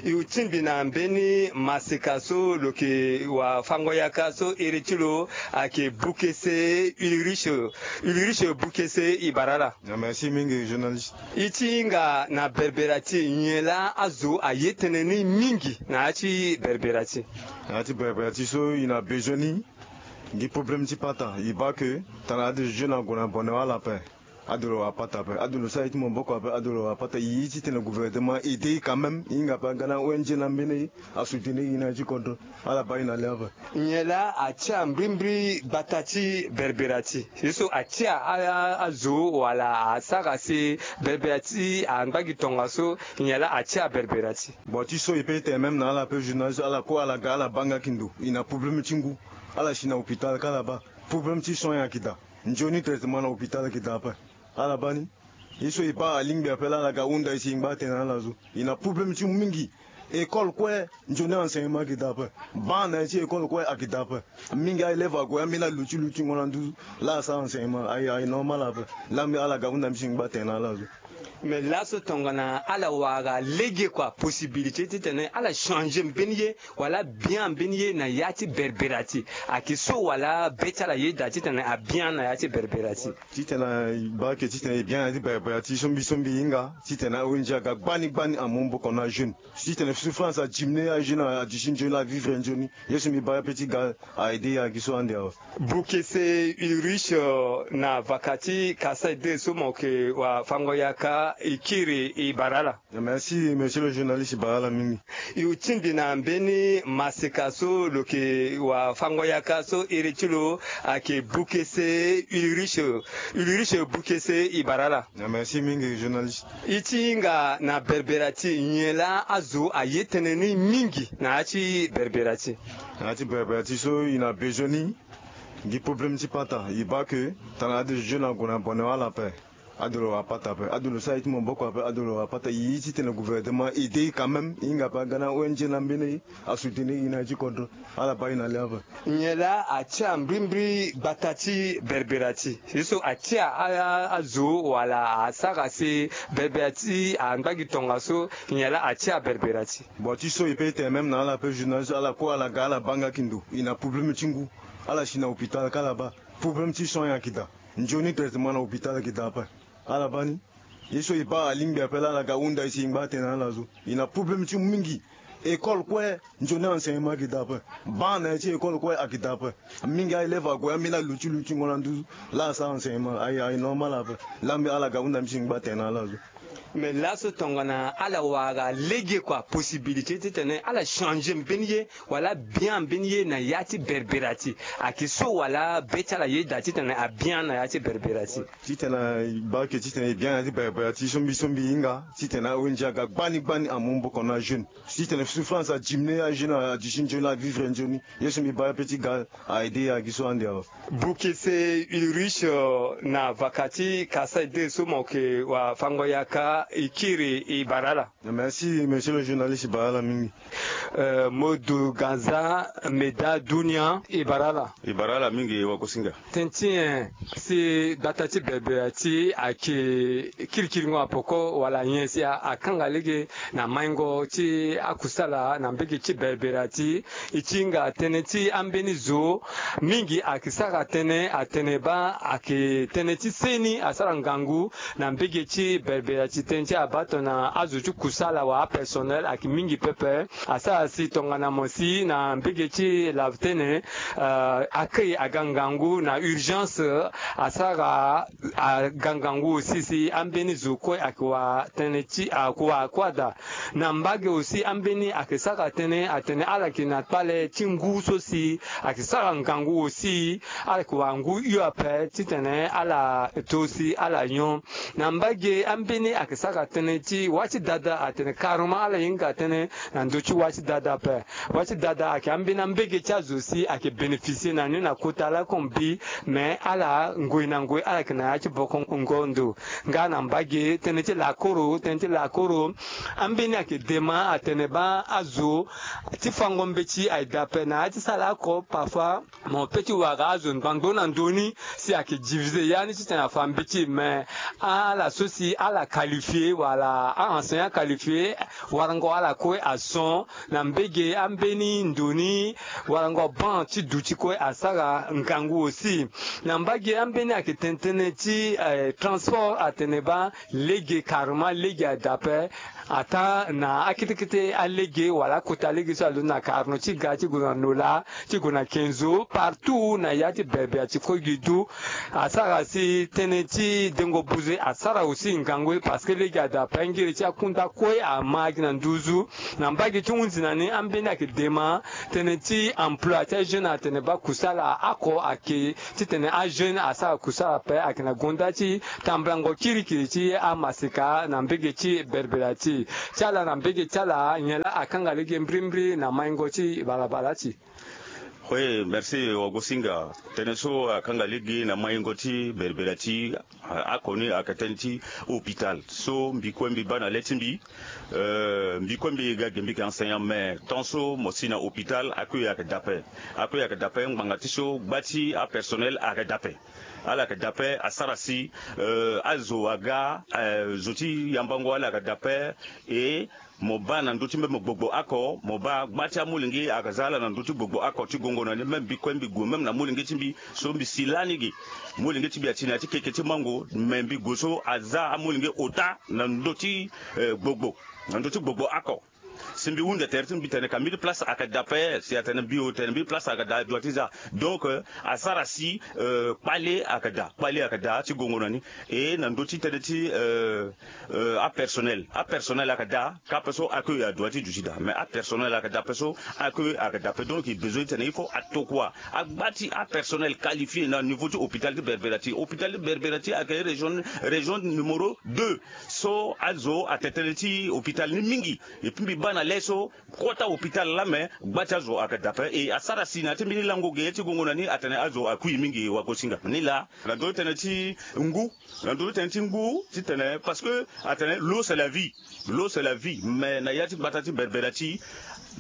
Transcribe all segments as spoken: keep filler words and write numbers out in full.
I tingbi na mbeni maseka so lo yeke wa fango yaka so iri ti lo ayeke Bukese Ulrich. Ulrich Bukese, i bara ala. Ah, merci mingi, journaliste. I ti hinga na Berbera ti, nyen laa azo aye tënë ni mingi na ya ti Berbera ti? Na ya ti Berbera ti so, i na besoin ni gi problème ti pata. I baa ke tana ade zo na gue na bone wala ape. Ado lo wara pata ape, ado lo sara ye ti maboko ape, ado lo wara pata. I ye titene gouvernement aide i quand même, i hinga ape aga na O N G na mbeni asoutenir i na ya ti kodro. Ala baa i na le ape. Nyen laa atia mbrimbri gbata ti Berbera ti? Ye so atia a, a, azo wala asara si Berbera ti angba gi tongaso, nyen laa atia Berbera ti? Bon, ti so e peut tene même na ala ape, journaliste, ala kue ala ga ala baa nga ki ndo. I na problème ti ngu. Ala si na hôpital ka ala baa. Problème ti soin ayeke daa. Nzoni traitement na hôpital ayeke daa ape. Ala baa ni. Ye so e baa alingbi ape laa ala ga hunda e si e ngba atene na ala so. E na problème ti mingi. École kue, nzoni enseignement ayeke daa ape. Banc na ya ti école kue ayeke daa ape. Mingi a-élève ague ambeni aluti lutingo na nduzu. Laa asara enseignement aye, aye normal ape. Laa mbi ala ga hunda mbi si e ngba atene na ala so. Mais laso tongana ala wara lege kua possibilité titene ala changer mbeni ye, wala bien mbeni ye na ya ti Berbera ti, ayeke so wala be ti ala ye daa titene abien na ya ti Berbera ti? Titene e baa ke titene e bien na ya ti Berbera ti, so mbi so mbi hinga titene O N G aga gbani gbani amu maboko na ajeune. Titene souffrance adiminuer, ajeune aduti nzoni, avivre nzoni. Ye so mbi baa ape ti ga a-aider e agi so ande awe. Bukese Ulrich, euh, na vaka ti Kasaï deux so mo yeke wa fango yaka, e kiri, e bara ala. Merci, monsieur le journaliste, e bara ala mingi. E tingbi na mbeni maseka so lo yeke wa fango yaka so iri ti lo ayeke Bukese Ulrich. Ulrich Bukese, e bara ala. Ah, merci mingi, journaliste. E ti hinga na Berbera ti, nyen laa azo aye tënë ni mingi na ya ti Berbera ti? Na ya ti Berbera ti so, e na besoin ni gi problème ti pata. E baa ke tana ade zo na gue na bone wala ape. Ado lo wara pata ape, ado lo sara ye ti maboko ape, ado lo wara pata. E ye titene gouvernement aide e quand même, e hinga ape aga na O N G na mbeni asoutenir e na ya ti kodro. Ala baa e na le ape. Nyen laa atia mbrimbri gbata ti Berbera ti? Ye so atia a, a, azo wala asara si Berbera ti angba gi tongaso, nyen laa atia Berbera ti? Bon, ti so e peut tene même na ala ape, journaliste, ala kue ala ga ala baa nga ki ndo. E na problème ti ngu. Ala si na hôpital ka ala baa. Problème ti soin ayeke daa. Nzoni traitement na hôpital ayeke daa ape. Ala baa ni. Ye so e baa alingbi ape laa ala ga hunda e si e ngba atene na ala so. E na problème ti mingi. École kue, nzoni enseignement ayeke daa ape. Banc na ya ti école kue ayeke daa ape. Mingi a-élève ague ambeni aluti lutingo na nduzu. Laa asara enseignement aye, aye normal ape. Laa mbi ala ga hunda mbi si e ngba atene na ala so. Mais laso tongana ala wara lege kua possibilité titene ala changer mbeni ye, wala bien mbeni ye na ya ti Berbera ti, ayeke so wala be ti ala ye daa titene abien na ya ti Berbera ti? Titene e baa ke titene e bien na ya ti Berbera ti, so mbi so mbi hinga titene O N G aga gbani gbani amu maboko na ajeune. Titene souffrance adiminuer, ajeune aduti nzoni, avivre nzoni. Ye so mbi baa ape ti ga a-aider e agi so ande awe. Bukese Ulrich, euh, na vaka ti Kasaï deux so mo yeke wa fango yaka, e kiri, e bara ala. Merci, monsieur le journaliste, e bara ala mingi. Euh, Modou Ganza Meda Dunia, e bara ala. E bara ala mingi, e wagosinga. Tënë ti nyen si gbata ti Berbera ti ayeke kirikiringo apoko, wala nyen si a, akanga lege na maingo ti akusala na mbage ti Berbera ti? E ti hinga tënë ti ambeni zo mingi ayeke sara tënë atene baa ayeke tënë ti seni asara ngangu na mbage ti Berbera ti. Tënë ti abaa tongana azo ti kusala wala apersonnel ayeke mingi pepe. Asara si tongana mo si na mbage ti lave tënë, euh, accueil aga ngangu na urgence, asara aga ngangu aussi si ambeni zo kue ayeke wa tënë ti, ayeke wa kue ada. Na mbage aussi ambeni ayeke sara tënë atene ala yeke na kpale ti ngu so si ayeke sara ngangu aussi, ala yeke wara ngu hio ape titene ala to si ala nyon. Na mbage ambeni ayeke sara tënë ti wâ ti dada atene carrément ala hinga tënë na ndö ti wâ ti dada ape. Wâ ti dada ayeke ambeni ambege ti azo si ayeke bénéficier na ni na kota lakue mbi, mais ala ngoi na ngoi ala yeke na ya ti boko ngo ndo. Nga na mbage tënë ti lakoro, tënë ti lakoro, ambeni ayeke dema atene baa azo ti fango mbeti aye daa ape na ya ti sara oko parfois. Mo peut ti wara azo ngbangbo na ndö ni si ayeke diviser ya ni titene afa mbeti, mais ala so si ala qualifier wala a-enseignant qualifier, warango ala kue ason na mbege ambeni ndo ni. Warango banc ti duti kue asara ngangu aussi. Na mbage ambeni ayeke tene tënë ti eh, transport atene baa lege carrément lege ada ape. Ataa na akete kete alege wala akota lege so alondo na carno ti ga ti gue na nola ti gue na kenzo partout na ya ti berbera ti kue gi du. Asara si tënë ti dengo buze asara aussi ngangu parce que lege ada ape ngiri ti akunda kue ama gi na nduzu. Na mbage ti hunzi na ni ambeni ayeke dema tënë ti emploi ti ajeune atene baa kusala oko ayeke titene ajeune asara kusala ape ayeke na gonda ti tambulango kirikiri ti amaseka na mbege ti berbera ti ti ala na mbege ti ala nyen laa akanga lege mbirimbiri na maingo ti balabala ti. Oui, merci wagosinga. Tënë so akanga lege na maingo ti berbera ti oko ni ayeke tënë ti hôpital so mbi kue mbi baa na le ti mbi. Euh, mbi kue mbi ga ge mbi yeke enseignant mais tant so mo si na hôpital akui ayeke dape. Akui ayeke dape ngbanga ti so gba ti apersonnel ayeke dape. Ala yeke dape asara si euh, azo aga euh, zo ti yambango ala yeke dape. E mo baa na ndö ti même gbogbo oko mo baa gba ti amolenge ayeke za ala na ndö ti gbogbo oko ti gongo na ni même mbi kue mbi gue même na molenge ti mbi so mbi si lani ge. Molenge ti mbi ati na ya ti keke ti mango mais mbi gue so aza amolenge ota na ndö ti eh, gbogbo na ndö ti gbogbo oko. Si mbi hunda tere ti mbi tene ka mbiri place ayeke daa ape si atene mbi o tene mbiri place ayeke daa adua ti za. Donc euh, asara si euh, kpale ayeke daa kpale ayeke daa ti gongo na ni. E na ndö ti tënë ti euh, euh, apersonnel apersonnel ayeke daa ka ape so accueil adua ti duti daa mais apersonnel ayeke daa ape so accueil ayeke daa ape donc il besoin ti tene il faut atokua agba ti apersonnel qualifié na niveau ti hôpital ti berbera ti hôpital ti berbera ti ayeke région région numéro deux. So azo atene tënë ti hôpital ni mingi. Epui mbi baa na le so kota hôpital laa me gba ti azo ayeke daa ape e asara si na ya ti mbeni lango ge ti gongo na ni atene azo akui mingi wagosinga ni laa. Na ndö ti tënë ti ngu na ndö ti tënë ti ngu titene parce que atene l'eau c'est la vie. L'eau c'est la vie mais na ya ti gbata ti berbera ti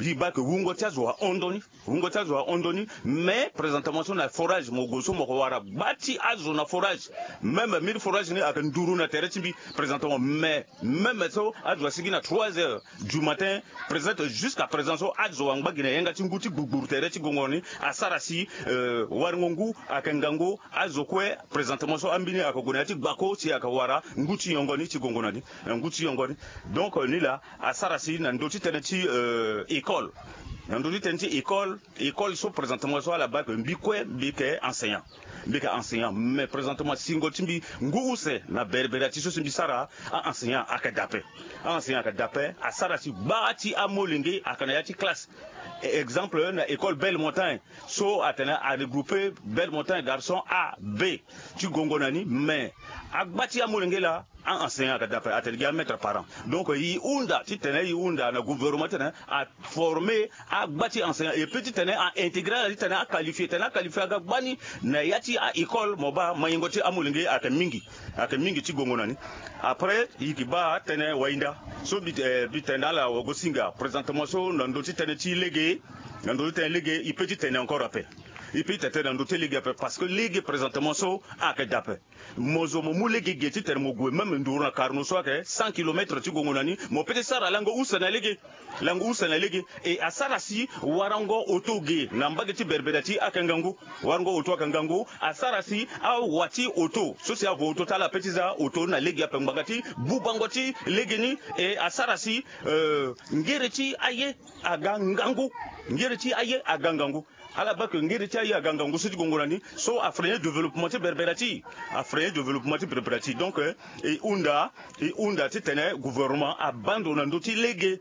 e baa ke wungo ti azo ahon ndoni. Wungo ti azo ahon ndoni. Mais présentement so na forage mo gue so mo ko wara gba ti azo na forage. Même mille forage ni ayeke nduru na tere ti mbi présentement mais même so azo asigi na trois heures du matin présente jusqu'à présent so azo angba gi na yanga ti ngu ti gbugburu tere ti gongo ni. Asara si euh, waringo ngu ayeke ngangu. Azo kue présentement so ambeni ayeke gue na ya ti gbako si ayeke wara ngu ti yongo ni ti gongo na ni. Na ngu ti yongo ni. Donc euh, ni laa asara si na ndö ti tënë ti euh, école na ndö ti tënë ti école école so présentement so ala baa ke mbi kue mbi yeke enseignant. Mbi yeke enseignant mais présentement singo ti mbi ngu use na berbera ti so si mbi sara a-enseignant ayeke daa ape. A-enseignant ayeke daa ape asara si gba ti amolenge ayeke na ya ti classe. Exemple na école belle montagne so atene aregroupe belle montagne garçon a b ti gongo na ni mais agba ti amolenge laa a-enseignant ayeke daa ape atene gi amaître parent. Donc e hunda titene e hunda na gouvernement titene aforme agba ti enseignant epui titene a-intégré ala titene aqualifie titene aqualifie aga gbani na ya ti a-école mo baa maingo ti amolenge ayeke mingi. Ayeke mingi ti gongo na ni. Après e yeke baa tënë wahinda so mbi eh, mbi tene na ala wagosinga présentement so na ndö ti tënë ti lege na ndö ti tënë lege e peut ti tene encore ape. E peut ti tene na ndö ti lege ape parce que lege présentement so ayeke daa ape. Mo zo mo mu lege ge titene mo gue même nduru na karno so ayeke cent kilomètres ti gongo na ni mo peut ti sara lango use na lege. Lango use na lege e asara si warango oto ge na mbage ti berbera ti ayeke ngangu. Warango oto ayeke ngangu asara si awa ti oto so si avo oto ti ala peut ti za oto na lege ape ngbanga ti bubango ti lege ni. E asara si euh, ngere ti aye aga ngangu. Ngere ti aye aga ngangu. Ala baa ke ngere ti aye aga ngangu so ti gongo na ni so afreine développement ti berbera ti e. Afreine développement ti berbera ti e donc euh, e hunda e hunda titene gouvernement abaa ndo na ndö ti lege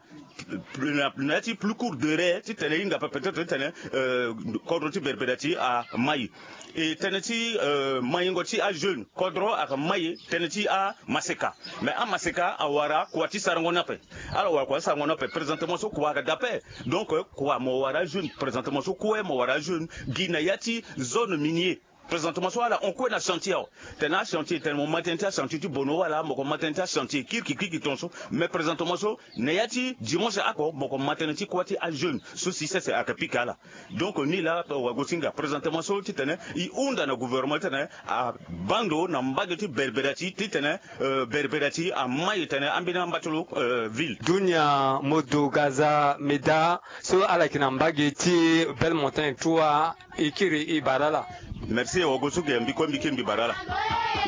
na ya ti plus court délai titene e hinga ape peut-être titene euh, kodro ti berbera ti e amai. E tënë ti euh, maingo ti ajeune kodro ayeke mai tënë ti amaseka. Mais amaseka awara kua ti sarango ni ape. Ala wara kua ti sarango ni ape présentement so kua ayeke daa ape. Donc euh, kua mo wara ajeune présentement so kue mo wara ajeune gi na ya ti zone minier. Présentement so ala hon kue na chantier awe. Tene achantier tene mo ma tënë ti achantier ti bono wala mo ko ma tënë ti achantier kirikirikiri tonso. Mais présentement so na ya ti dimanche oko mo ko ma tënë ti kuâ ti ajeune so succès ayeke pika ala. Donc ni laa wagosinga présentement so titene e hunda na gouvernement titene abando na mbage ti berbera ti titene berbera ti amai tene ambeni amba ti lo. Ville dunia modo gaza meda so ala yeke na mbage ti belle montagne trois. E kiri e bara ala. Merci wagosinga mbi kue mbi kiri mbi bara ala.